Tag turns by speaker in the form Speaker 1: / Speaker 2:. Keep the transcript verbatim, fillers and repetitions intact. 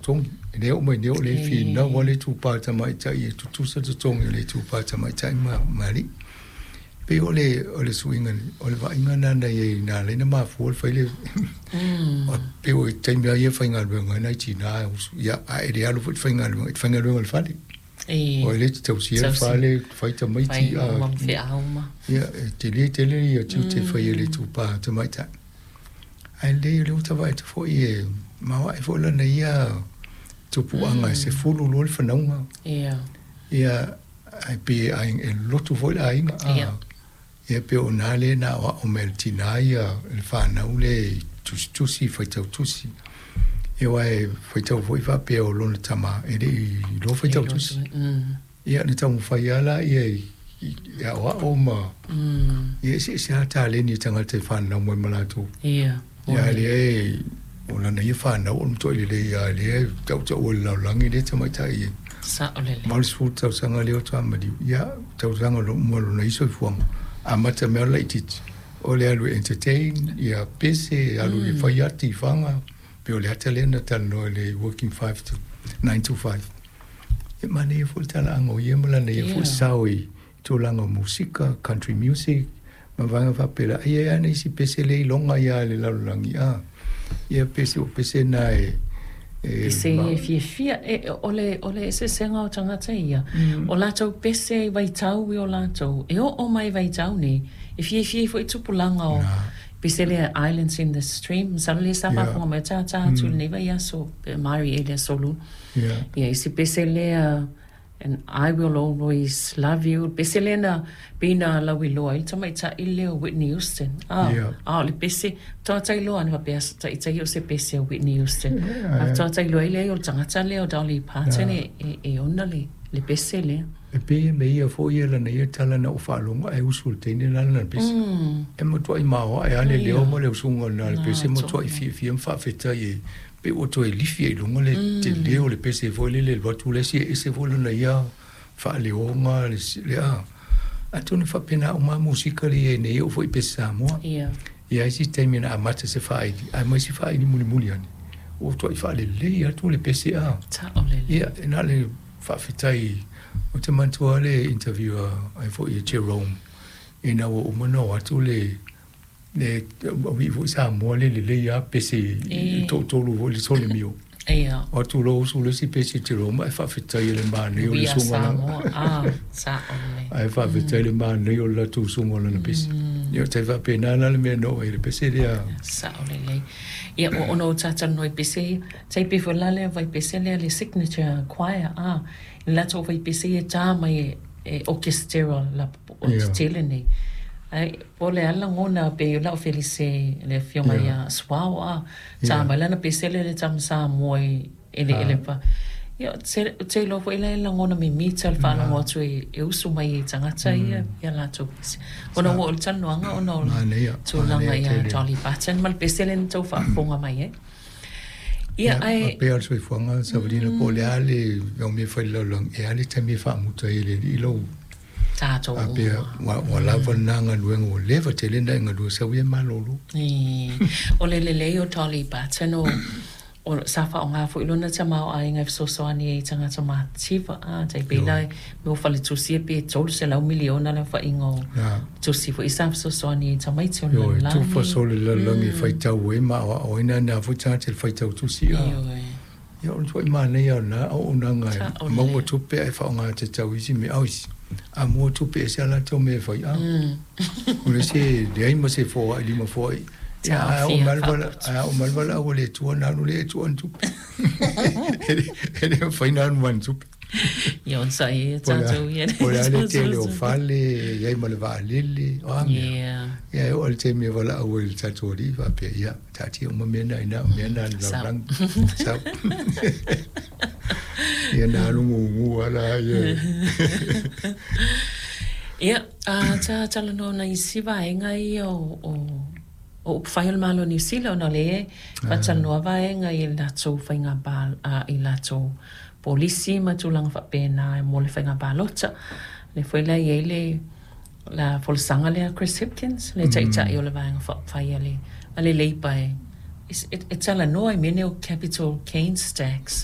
Speaker 1: totogi. E lē oo mai nei o le finau a le itupa tamaitai e tutusa totogi o le itupa tamaitai ma ma alii. Pei o le o le suiga o le vaaiga lena na i ai na ala ai ona mafua le fai le pei o taimi lava ia e faigaluega ai nai tinā ia ae le alu foi le faigaluega i te faigaluega i le fale. O ai lea e te tausia le fale, fai tamaiti a ia e tele tele ia tiute e fai e le itupa tamaitai. Ae lelei o lea ua ta vaai atu foi e maoae foi lana ia tupuaga e sefulu loa le fanauga. Ia ae pei e lotu foi le aiga a ia pei o i ina lea na aoao mai e le tinā ia le fanau lea i tusitusi faitau tusi. Ia aua e faitau foi faapea o lona tama e le i iloa faitau tusi. Ia na taumafai lava laia i aoao ma ia eseese lava taleni o tagata e fananau mai ma latou. Ia a lea e o lana ia fanau o le matuai lelei lava lea e tautaua i le lalolagi lea tamaitai e valusefulu tausaga lea faatoa maliu. Ia tausaga uma o lona ia soifuaga amata mai lava o le laitiiti o le alu e entertain ia pese alu e fai ati i faga pei o le ata lea na talanoa i le working five to nine to five. E manaia foi le talaaga o ia ma lana ia foi sao i tulaga o musika, country music ma vaega faapela. Ai ai lava nisi pese le iloga ia i le lalolagi a ia pese o pese na e
Speaker 2: Pese ia e fiafia e o le o le eseesega o tagata ia o latou pese i vaitau i o latou e oo mai vaitau nei e fiafia ai foi tupulaga o pese lea Islands in the Stream masalo lea sa faafofoga mai o tātā atu i lenei vaiaso pe Marie e le aso Lua ia isi pese lea And I Will Always Love You, le pese lea na pei na lauiloa ai le tamaitai lea o Whitney Houston. A,
Speaker 1: Yeah.
Speaker 2: a o le pese, faatoa tailoa ane faapea taitai o se pese a Whitney Houston.
Speaker 1: Yeah,
Speaker 2: A faatoa tailoa ai lea o le tagata lea o Dolly Parton
Speaker 1: Yeah.
Speaker 2: e, e, e ona le, le pese lea.
Speaker 1: E pei e mea ia foi ia lana ia tala na ou faalogo ae usu i le teine lena lana pese.
Speaker 2: Mm.
Speaker 1: E matuai maoae lava le leo
Speaker 2: Ia.
Speaker 1: ma le usuga lena le
Speaker 2: Na
Speaker 1: pese, matuai
Speaker 2: tonu.
Speaker 1: fiafia ma faafetai e pei ua toe lifi ai i luga le telē o le pese foi lele e alu atu le isi e ese foi lona ia faaleoga le le a. Atonu e faapena uma lava musika lea i ai nei e oo foi i pese Samoa.
Speaker 2: Ia.
Speaker 1: Ia isi taimi na amata se faaili ae aumai si faaili mulimuli ane ua matuai faalelei atu le pese a.
Speaker 2: Sao lelei.
Speaker 1: Ia e na o le faafetai ou te manatua lava le interview a ai foi e Jerome ina ua uma ona o atu le le alii foi Samoa le lelei lava pese i toatolu foi le sole mio.
Speaker 2: Ia.
Speaker 1: O atu loa usu le isi pese Jerome ae faafetai i le manaia o le
Speaker 2: We are
Speaker 1: usuga lana.
Speaker 2: Samoa. Ah, sao lelei.
Speaker 1: Ae faafetai i le manaia o le latou usuga o lana pese. Ia o tai faapena la le mea na oo ai i le pese lea.
Speaker 2: Sao lelei. Ia, ua ona ou talatalanoa i pese ia, tai pei foi la lea vaipese lea le Signature Choir, a, i le latou vaipese ia e tā mai e, e orchestera la o
Speaker 1: Ia.
Speaker 2: tetele nei. Ae po o le a le lagona pei o lau felise le afioga
Speaker 1: Ia.
Speaker 2: ia Suao, a, tā
Speaker 1: Ia.
Speaker 2: mai lana pese lea le tama Samoa i eleele
Speaker 1: Ah.
Speaker 2: pa. Ia, ou te, ou te iloa foi la e lagona mimita le faalogo atu e, e usu mai ai tagata ia i a latou pese. Ona
Speaker 1: Sa.
Speaker 2: ua oo i le talanoaga ona o le
Speaker 1: Manaia,
Speaker 2: tulaga
Speaker 1: manaia
Speaker 2: ia
Speaker 1: tele.
Speaker 2: Dolly Parton ma le pese lea na tou faafofoga mai ai. Ia,
Speaker 1: Ia,
Speaker 2: ae
Speaker 1: faapea le soifuaga Savalina po o le a le au mea fai i le lalolagi, e a le taimi e faamuta ai e le alii lau
Speaker 2: tatou
Speaker 1: faapea
Speaker 2: uma.
Speaker 1: ua ua lava lena galuega ua leva tele ona e galue sau ia e malolo.
Speaker 2: Ii. O le lelei o Dolly Parton o o sa faaaoga foi lona tamaoaiga e fesoasoani ai i tagata matitiva a tai pei la
Speaker 1: Ioe.
Speaker 2: mo faletusi e pe tolu selau miliona le aofaiga o
Speaker 1: Na.
Speaker 2: tusi foi sa fesoasoani ai i tamaiti o le
Speaker 1: Ioe, tufa
Speaker 2: lalolagi.
Speaker 1: solo i le lalolagi e faitau ai ma aoaoina na foi tagata i le faitau tusi a.
Speaker 2: Ioe.
Speaker 1: Ia o le matuai manaia o lena auaunaga e
Speaker 2: Sao
Speaker 1: maua
Speaker 2: lelei.
Speaker 1: tupe ae faaaoga tatau i isi mea. Au isi, a mua tupe e ese lava latou mea e fai a. O le isi e leai ma se foai lima foai. Ia ae a oo
Speaker 2: Taofia
Speaker 1: mai le vala
Speaker 2: faaputu.
Speaker 1: ae a oo mai le valaau a le Atua ona alu lea e tuu ana tupe. E le mafai ona alu ma ana tupe.
Speaker 2: Ia onosai ia
Speaker 1: Po o le a
Speaker 2: tatou ia
Speaker 1: po o le a le tele o fale, e i ai ma le vaalele, o a mea.
Speaker 2: Yeah.
Speaker 1: Ia e oo i le taimi e valaau ai i le tatou Alii faapea, ia, taatia uma mea na i ina, o mea na a le
Speaker 2: Sao.
Speaker 1: lalolagi. Sau. Ia na alu gugu lava la ia.
Speaker 2: Ia, a ta talanoa ona isi vaega ia o, o, o upufai o le Malo o Niu Sila ona o lea e faatalanoa vaega i latou faiga pa, a, i latou polisi ma tulaga faapena mo le faiga palota. Lea foi la e i ai le la folasaga lea a Chris Hipkins, le taitai o le vaega faaupufai a le, a le Labour e, e, e talanoa i mea nei o capital gains tax.